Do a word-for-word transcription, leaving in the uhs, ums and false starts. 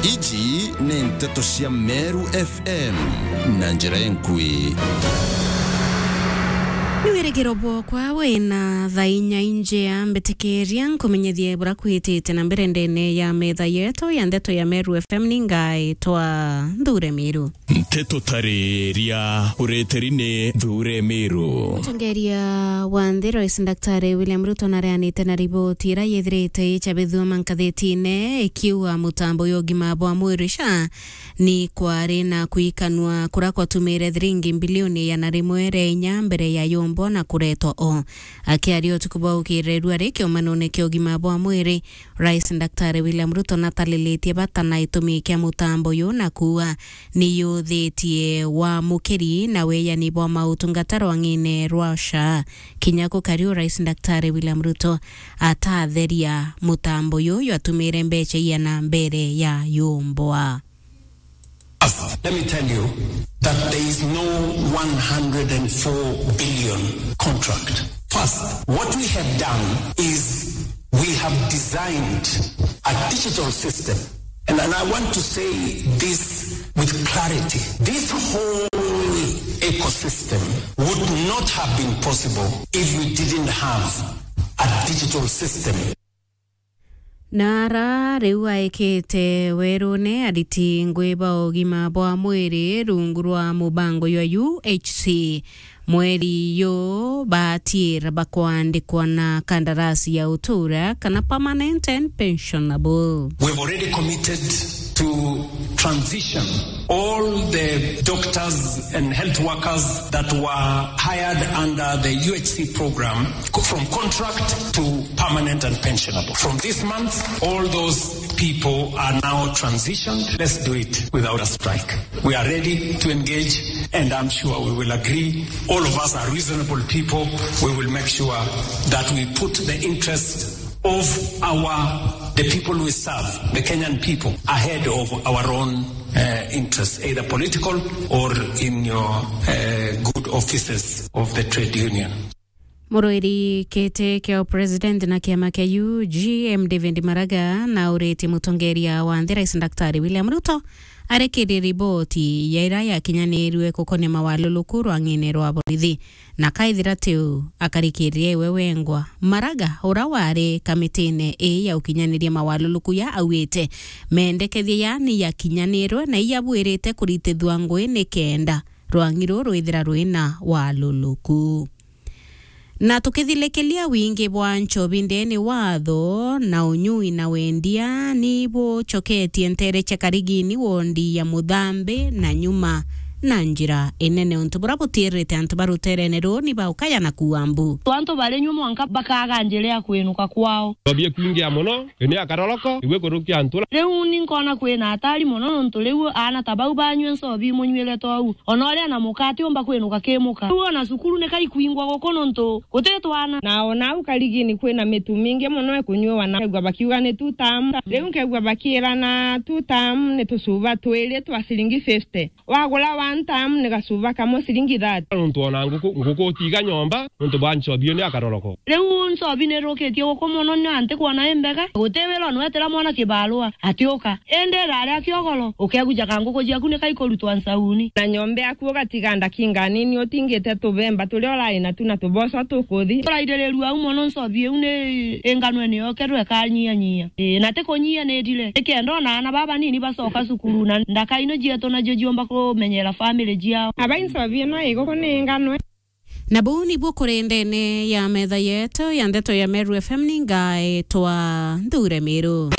Iji ni nteto cia Meru F M na njira enkui. Ni wirigiro bwokwa wina thaa inya injea, mbitikiria nkumenyethie bura kwitite na mbere ndene ya metha yetu ya ndeto ya Meru F M. Ni ngaitwa Nthure Miru. Nteto tariria ureteri ni Nthure Miru. Mutongeria wa nthi, Rais Daktari William Ruto, nareanite na riboti iria yithirite icabithua mankathitine ikiuga mutambo ya ugima bwa mwiri, SHA, ni kwari na kwikanua kuria kwatumire thiringi mbilioni igana rimwe ria inya mbere ya yumbwa na kuretwa o. Akiaria utuku bwa ukirerua ri kiumanone kia ugima bwa mwiri, Rais Daktari William Ruto natalilitie bata na itumi kia mutambo uyu na kuuga ni yuthitie wamukiri na weyani bwa mautungata rwang'ine rwa SHA. Kinya kukari u, Rais Daktari William Ruto atatheria mutambo uyu jwatumire mbeca iana mbere ya yumbwa. First, let me tell you that there is no one hundred and four billion contract. First, what we have done is we have designed a digital system. And, and I want to say this with clarity. This whole ecosystem would not have been possible if we didn't have a digital system. Na ara riu aikite werune ariti ngui ba ugima bwa mwiri rungu rwa mubango jwa U H C, mweri uyu baatiira bakwandikwa na kandarasi ya utura kana permanent and pensionable. We've already committed to transition all the doctors and health workers that were hired under the U H C program co-, from contract to permanent and pensionable. From this month, all those people are now transitioned. Let's do it without a strike. We are ready to engage, and I'm sure we will agree. All of us are reasonable people. We will make sure that we put the interest of our, the people we serve, the Kenyan people, ahead of our own, uh, interests, either political or in your, uh, good offices of the trade union. Muruiri kiti kia president na kiama kia U G M David Maraga nauritie mutongeria wa nthi Rais Daktari William Ruto arikirie riboti ya iria yakinyanirue gukonia mawaluluku rwang'ine rwa borithi. Na kaithira ti uu, akarikiria iwe wengwa. Maraga, uria wari kamitine ii ya ukinyaniria mawaluluku ya augite, mendekethia yani yakinyanirwe na iyabwirite kuritithua ngui nikenda rwang'i ruu rwithira rwina waluluku. Na tukithilikiria wingi bwa nchobi ndene watho na unyui na wendia ni bucoketie ntere cia Karigini wondi ya Muthambi na Nyuma na njira inene, untu buria butiirite antu ba ruterene ruu ni baukaya na kuua mbu. Antu bari nyua mwanka bakaga njira ya kwinuka kwao. Nchobi ikwingia mono, ini akaroroko, igwe kurukia ntura. Riu ni nkona kwina hatari mono, nontu riu aana ta bau banyua nchobi imunyuire tou. Ona uria na muka atiumba kwinuka ki muka. Riu ona cukuru ni kaikwingwa guku nontu guti twana. Na ona au Karigini kwina mitu mingi mono ikunyuwa na kegua bakiuga ni two term. Riu nkegua bakiirana two term ni tucuba twiri twa ciringi fifty. Wagura one term ni gacuba kamwe ciringi thirty. Nontu ona nguku, nguku utiga nyomba, nontu bwa nchobi iyo ni akaroroko. Riu nchobi ni irukitie guku mono, ni anti kwona imbega. Guti wira, onwetera mwana kibarua, atiuka. Indi iraria kiogoro, ukegujaga nguku ciaku ni kaikurutwa nsauni. Na nyomba yaku ugatiga ndakinga nini utingite tubemba turia urai natu na tuboco tukuthi. Turaidirirua au mono, nchobi iu ni inganwe ni yokerwe ikanyianyia. Ii, na ti kunyia ni ndire. Nikenda ona aana baba banini bacoka cukuru na ndaka ino cietu nacio ciumba kumenyera family ciao. Aba inchobi ino iguku ni inganwe. Na buu nibuo kuri ndene ya metha yetu ya ndeto ya Meru F M, ni ngaitwa Nthure Miru.